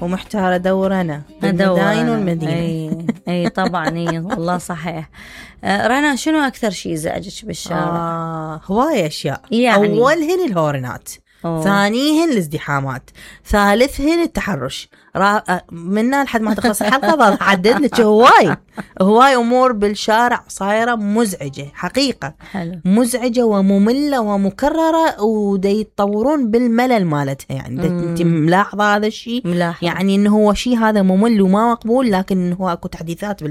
ومحتارة ادور انا بالمداين والمدينة. اي طبعا. اي والله صحيح. رنا، شنو اكثر شيء يزعجك بالشارع؟ هواية اشياء يعني. اولهن الهورنات، ثانيهن الازدحامات، ثالثهن التحرش، منا لحد ما تخلص الحلقة بعدد لك هواي أمور بالشارع صايرة مزعجة حقيقة. حلو. مزعجة ومملة ومكررة، ودا يتطورون بالملل مالتها. يعني انت ملاحظة هذا الشيء؟ يعني انه هو شيء هذا ممل وما مقبول، لكن هو اكو تحديثات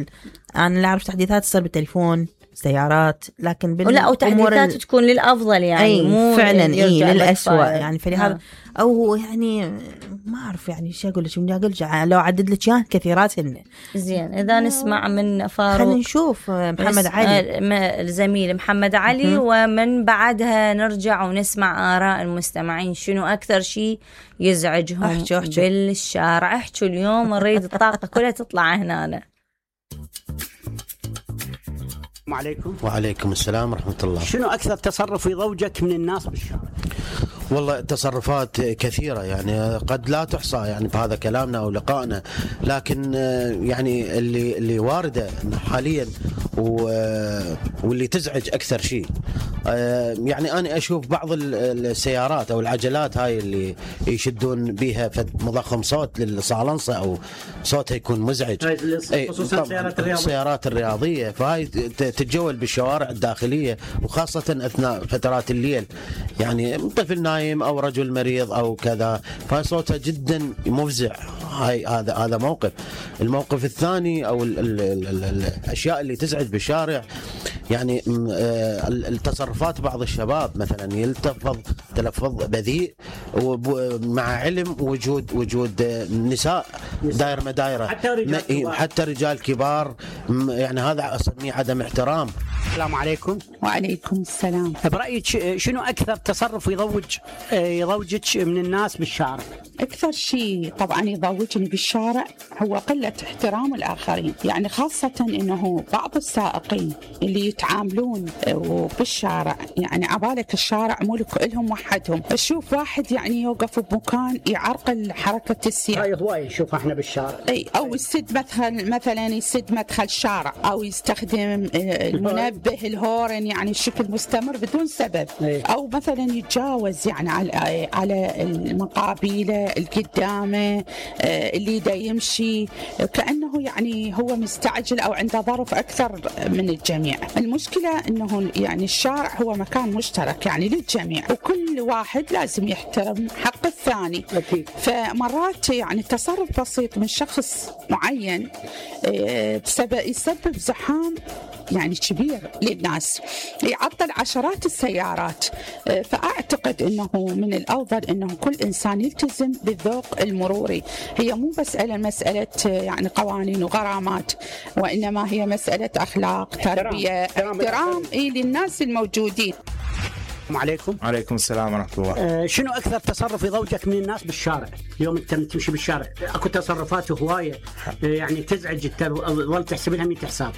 انا اللي اعرف تحديثات تصير بالتليفون، سيارات، لكن لا، وتحديثات تكون للأفضل يعني، مو فعلا للأسوأ يعني. فلهذا أو يعني ما أعرف يعني شو أقول لك، بدي أقول لو عدد لك إياه كثيرات هن. زين، إذا نسمع من فاروق. خلينا نشوف محمد علي، الزميل محمد علي، ومن بعدها نرجع ونسمع آراء المستمعين. شنو أكثر شيء يزعجهم أحكي. بالشارع؟ احكوا اليوم، نريد الطاقة كلها تطلع هنا. عليكم. وعليكم السلام ورحمة الله. شنو أكثر تصرف يضوجك من الناس بالشارع؟ والله تصرفات كثيرة يعني قد لا تحصى يعني بهذا كلامنا أو لقائنا، لكن يعني اللي واردة حاليا واللي تزعج أكثر شيء، يعني أنا أشوف بعض السيارات أو العجلات هاي اللي يشدون بها مضخم صوت للصالنصة أو صوتها يكون مزعج، خصوصا السيارات الرياضية. فهاي تتجول بالشوارع الداخلية، وخاصة أثناء فترات الليل، يعني طفل نايم أو رجل مريض أو كذا، فصوتها جدا مفزع. هذا موقف. الموقف الثاني أو الأشياء اللي تزعج بالشارع، يعني التصرفات بعض الشباب مثلا يلتفظ تلفظ بذيء مع علم وجود نساء داير مدايرة، حتى رجال كبار، يعني هذا أسميه عدم احترام. السلام عليكم. وعليكم السلام. برأيك شنو أكثر تصرف يضوجك من الناس بالشارع؟ أكثر شيء طبعا يضوجني بالشارع هو قلة احترام الآخرين، يعني خاصة أنه بعض السائقين اللي يتعاملون بالشارع، يعني عبالك الشارع ملك لهم وحدهم، أشوف واحد يعني يوقف بمكان يعرقل حركة السير. هاي هواي نشوفها احنا بالشارع. أو يسد مثلا يسد مدخل الشارع، أو يستخدم المنبه الهورن يعني بشكل مستمر بدون سبب، أو مثلا يتجاوز يعني على المقابيله القدامه اللي دا يمشي كأنه يعني هو مستعجل أو عنده ظرف أكثر من الجميع. المشكلة أنه يعني الشارع هو مكان مشترك يعني للجميع، وكل واحد لازم يحترم حق الثاني. فمرات يعني تصرف بسيط من شخص معين يسبب زحام يعني كبير للناس، يعطل عشرات السيارات. فأعتقد أنه من الأفضل أنه كل إنسان يلتزم بالذوق المروري. هي مو مسألة يعني قوانين وغرامات، وإنما هي مسألة أخلاق، تربية، احترام للناس الموجودين. عليكم. وعليكم السلام ورحمة الله. شنو أكثر تصرف يضوجك من الناس بالشارع؟ اليوم أنت تمشي بالشارع أكو تصرفات هواية يعني تزعج، تظل تحسب لها 100 حساب.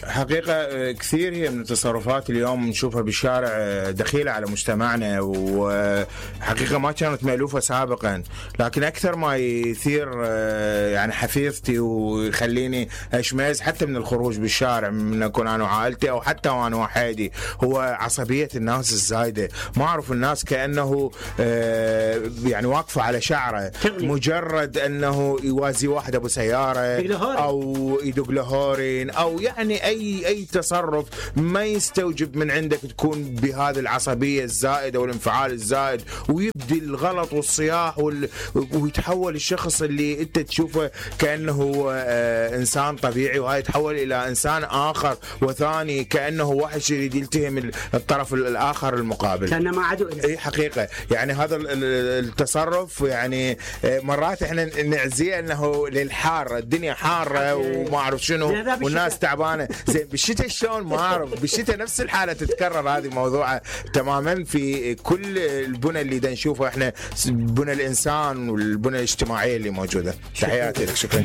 حقيقة كثير هي من التصرفات اليوم نشوفها بالشارع دخيلة على مجتمعنا، وحقيقة ما كانت مألوفة سابقا، لكن أكثر ما يثير يعني حفيظتي ويخليني أشمئز حتى من الخروج بالشارع، من أكون أنا وعائلتي أو حتى وأنا وحيدي، هو عصبية الناس الزايدة. ما أعرف الناس كأنه يعني واقفة على شعره، مجرد أنه يوازي واحد أبو سيارة أو يدق له هورين أو يعني أي تصرف ما يستوجب من عندك تكون بهذه العصبية الزائدة والانفعال الزائد، ويبدي الغلط والصياح ويتحول الشخص اللي أنت تشوفه كأنه إنسان طبيعي، وهاي يتحول إلى إنسان آخر وثاني، كأنه واحد يريد يلتهم الطرف الآخر المقابل، كأنه ما عدو. أي حقيقة يعني هذا التصرف يعني مرات احنا نعزيه انه للحار، الدنيا حارة وما اعرف شنو والناس تعبانة. زين بالشتاء شلون؟ ما اعرف. بالشتاء نفس الحالة تتكرر هذه موضوعة تماما في كل البنى اللي دا نشوفه احنا، بنى الانسان والبنى الاجتماعية اللي موجودة. تحياتي لك، شكرا.